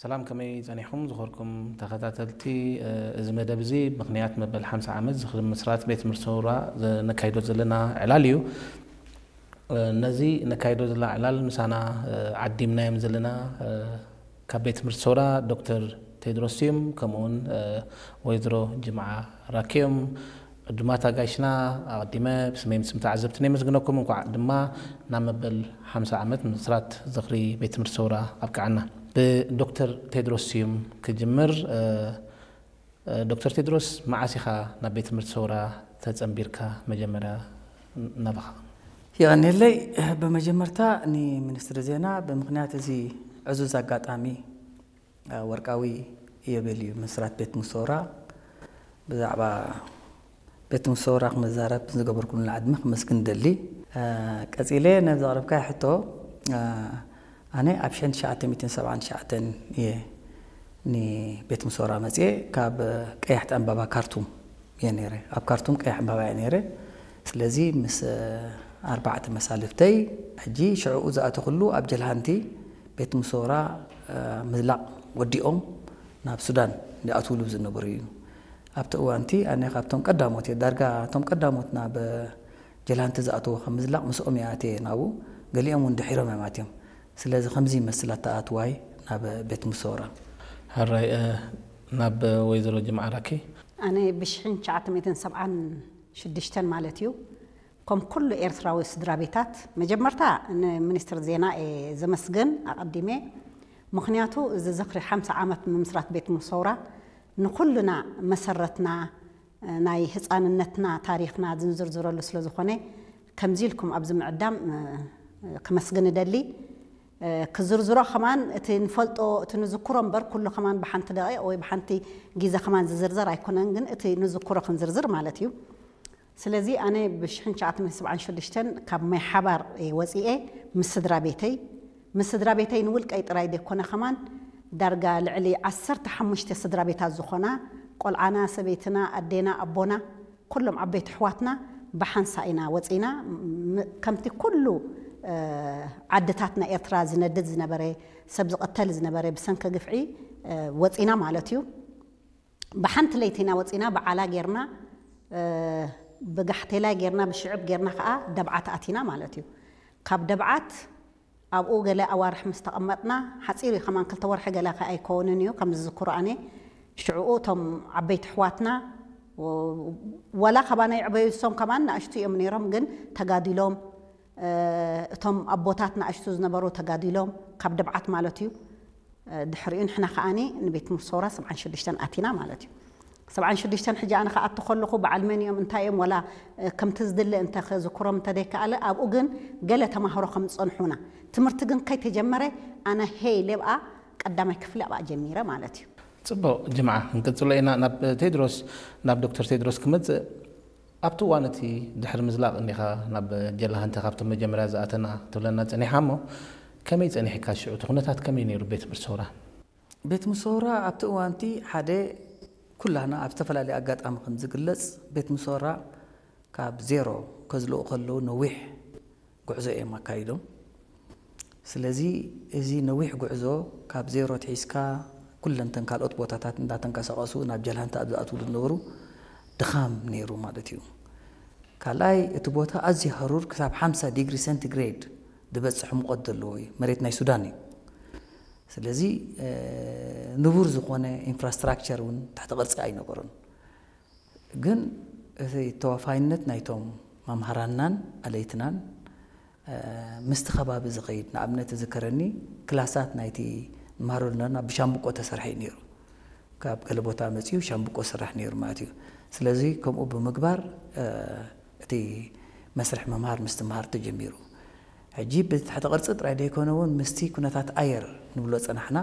ሰላም፣ ከመይ ጸኒሕኩም ዝኸርኩም ተኸታተልቲ? እዚ መደብ እዚ ምኽንያት መበል ሓምሳ ዓመት ዝኽሪ ምስራት ቤት ትምህርቲ ሰውራ ነካይዶ ዘለና ዕላል እዩ። ነዚ ነካይዶ ዘለና ዕላል ምሳና ዓዲምናዮም ዘለና ካብ ቤት ትምህርቲ ሰውራ ዶክተር ቴድሮስ ስዩም፣ ከምኡውን ወይዘሮ ጅምዓ ራኪዮም። ዕዱማት ኣጋይሽና፣ ኣቐዲመ ብስመይ ምስ ተዓዘብትን የመስግነኩም። እንኳዕ ድማ ናብ መበል ሓምሳ ዓመት ምስራት ዝኽሪ ቤት ትምህርቲ ሰውራ ኣብቅዓና። ብዶክተር ቴድሮስ ስዩም ክጅምር። ዶክተር ቴድሮስ፣ መዓስ ኢኻ ናብ ቤት ትምህርቲ ሰውራ ተጸንቢርካ መጀመርያ ናባኻ? የቐንየለይ። ብመጀመርታ ንሚኒስትሪ ዜና ብምኽንያት እዚ ዕዙዝ ኣጋጣሚ፣ ወርቃዊ ኢዮቤልዩ ምስራት ቤት ትምህርቲ ሰውራ፣ ብዛዕባ ቤት ትምህርቲ ሰውራ ክመዛረብ ዝገበርኩልና ዕድመ ክመስግን ደሊ። ቀጺለ ነዚ ዘቕረብካዮ ሕቶ፣ ኣነ ኣብ ሽሕን ትሽዓተ ሚእትን ሰብዓን ትሽዓተን እየ ንቤት ትምህርቲ ሰውራ መጽየ። ካብ ቀያሕቲ ዕምባባ ካርቱም እየ ነይረ። ኣብ ካርቱም ቀያሕ ዕምባባ እየ ነይረ። ስለዚ ምስ ኣርባዕተ መሳልፍተይ፣ ሕጂ ሽዕኡ ዝኣተኹሉ ኣብ ጀልሃንቲ ቤት ትምህርቲ ሰውራ ምዝላቕ ወዲኦም ናብ ሱዳን ዝኣትውሉ ዝነበሩ እዩ። ኣብቲ እዋንቲ ኣነ ካብቶም ቀዳሞት እየ። ዳርጋ እቶም ቀዳሞት ናብ ጀልሃንቲ ዝኣተዉ ካብ ምዝላቕ ምስኦም እየ ኣትየ ናብኡ። ገሊኦም እውን ድሒሮም እዮም ኣትዮም። ስለዚ ከምዚ ይመስል ኣተኣትዋይ ናብ ቤት ትምህርቲ ሰውራ። ሕራይ፣ ናብ ወይዘሮ ጅምዓ ራኪ። ኣነ ብሽሕን ትሽዓተ ሚእትን ሰብዓን ሽዱሽተን ማለት እዩ፣ ከም ኩሉ ኤርትራዊ ስድራ ቤታት፣ መጀመርታ ንሚኒስትሪ ዜና እየ ዘመስግን ኣቐዲመ። ምኽንያቱ እዚ ዝኽሪ ሓምሳ ዓመት ምምስራት ቤት ትምህርቲ ሰውራ ንኹልና መሰረትና፣ ናይ ህጻንነትና ታሪኽና ዝንዝርዝረሉ ስለ ዝኾነ፣ ከምዚ ኢልኩም ኣብዚ ምዕዳም ከመስግን እደሊ። ክዝርዝሮ ከማን እቲ ንፈልጦ፣ እቲ ንዝክሮ እምበር፣ ኩሉ ከማን ብሓንቲ ደቂቕ ወይ ብሓንቲ ግዜ ከማን ዝዝርዘር ኣይኮነን፣ ግን እቲ ንዝክሮ ክንዝርዝር ማለት እዩ። ስለዚ ኣነ ብሽሕን ትሽዓተ ሚእትን ሰብዓን ሽዱሽተን ካብ ማይ ሓባር እየ ወፂኤ፣ ምስ ስድራ ቤተይ። ምስ ስድራ ቤተይ ንውልቀይ ጥራይ ዘይኮነ ከማን፣ ዳርጋ ልዕሊ ዓሰርተ ሓሙሽተ ስድራ ቤታት ዝኾና፣ ቆልዓና፣ ሰበይትና፣ ኣዴና፣ ኣቦና፣ ኩሎም ዓበይቲ ኣሕዋትና ብሓንሳ ኢና ወፂና። ም-፣ ከምቲ ኩሉ ዓድታት ናይ ኤርትራ ዝነድድ ዝነበረ፣ ሰብ ዝቐተል ዝነበረ ብሰንኪ ግፍዒ ወፂና ማለት እዩ። ብሓንቲ ለይቲ ኢና ወፂና፣ ብዓላ ጌርና፣ ብጋሕቴላይ ጌርና፣ ብሽዕብ ጌርና ከዓ ደብዓት ኣቲና ማለት እዩ። ካብ ደብዓት ኣብኡ ገለ ኣዋርሕ ምስ ተቐመጥና፣ ሓፂር እዩ ከማን፣ ክልተ ወርሒ ገለ ከ ኣይከውንን እዩ፣ ከም ዝዝክሮ ኣነ። ሽዕኡ እቶም ዓበይቲ ኣሕዋትና፣ ወላ ካባና ይዕበዩ እሶም ከማን ንኣሽቱ እዮም ነይሮም፣ ግን ተጋዲሎም፣ እቶም ኣቦታት ንኣሽቱ ዝነበሩ ተጋዲሎም፣ ካብ ደብዓት ማለት እዩ። ድሕሪኡ ንሕና ከኣኒ ንቤት ትምህርቲ ሰውራ ሰብዓን ሽዱሽተን ኣቲና ማለት እዩ። ሰብዓን ሽዱሽተን ሕጂ ኣነ ክኣቱ ከለኹ በዓል መን እዮም፣ እንታይ እዮም፣ ወላ ከምቲ ዝድለ እንተ ክዝክሮም እንተ ዘይከኣለ፣ ኣብኡ ግን ገለ ተማሃሮ ከም ዝጸንሑና፣ ትምህርቲ ግን ከይተጀመረ ኣነ ሄይ ኢለ ኣብኣ ቀዳማይ ክፍሊ ኣብኣ ጀሚረ ማለት እዩ። ጽቡቕ ጅምዓ፣ ክንቅጽሎ ኢና። ናብ ቴድሮስ፣ ናብ ዶክተር ቴድሮስ ክመጽእ፣ ኣብቲ እዋን እቲ ድሕሪ ምዝላቕ እንዲኻ ናብ ጀላሃንቲ ካብቶም መጀመርያ ዝኣተና ትብለና ጸኒሓ እሞ፣ ከመይ ጸኒሕካ ሽዑ? እቲ ኩነታት ከመይ ነይሩ ቤት ትምህርቲ ሰውራ? ቤት ምሶራ ኣብቲ እዋንቲ ሓደ ኩላህና ኣብ ዝተፈላለየ ኣጋጣሚ ከም ዝግለጽ፣ ቤት ምሶራ ካብ ዜሮ ከዝልኡ ከለዉ ነዊሕ ጉዕዞ እዮም ኣካይዶም። ስለዚ እዚ ነዊሕ ጉዕዞ ካብ ዜሮ ትሒዝካ ኩለንተን ካልኦት ቦታታት እንዳተንቀሳቐሱ ናብ ጀልሃንታ ኣብ ዝኣትውሉ ዝነበሩ ድኻም ነይሩ ማለት እዩ። ካልኣይ እቲ ቦታ ኣዝዩ ሃሩር ክሳብ ሓምሳ ዲግሪ ሴንቲግሬድ ዝበጽሕ ሙቐት ዘለዎ እዩ። መሬት ናይ ሱዳን እዩ። ስለዚ ንቡር ዝኾነ ኢንፍራስትራክቸር እውን ትሕቲ ቅርጺ ኣይነበሮን። ግን እቲ ተዋፋይነት ናይቶም መምሃራንናን ኣለይትናን ምስቲ ከባቢ ዝኸይድ፣ ንኣብነት ዝከረኒ ክላሳት ናይቲ ንመሃረሉ ነበርና ብሻምብቆ ተሰርሐ እዩ ነይሩ። ካብ ገለ ቦታ መጺኡ ሻምብቆ ስራሕ ነይሩ ማለት እዩ። ስለዚ ከምኡ ብምግባር እቲ መስርሕ ምምሃር ምስትምሃር ተጀሚሩ። ሕጂ ብትሕቲ ቅርጺ ጥራይ ዘይኮነ እውን ምስቲ ኩነታት ኣየር ንብሎ ጸናሕና።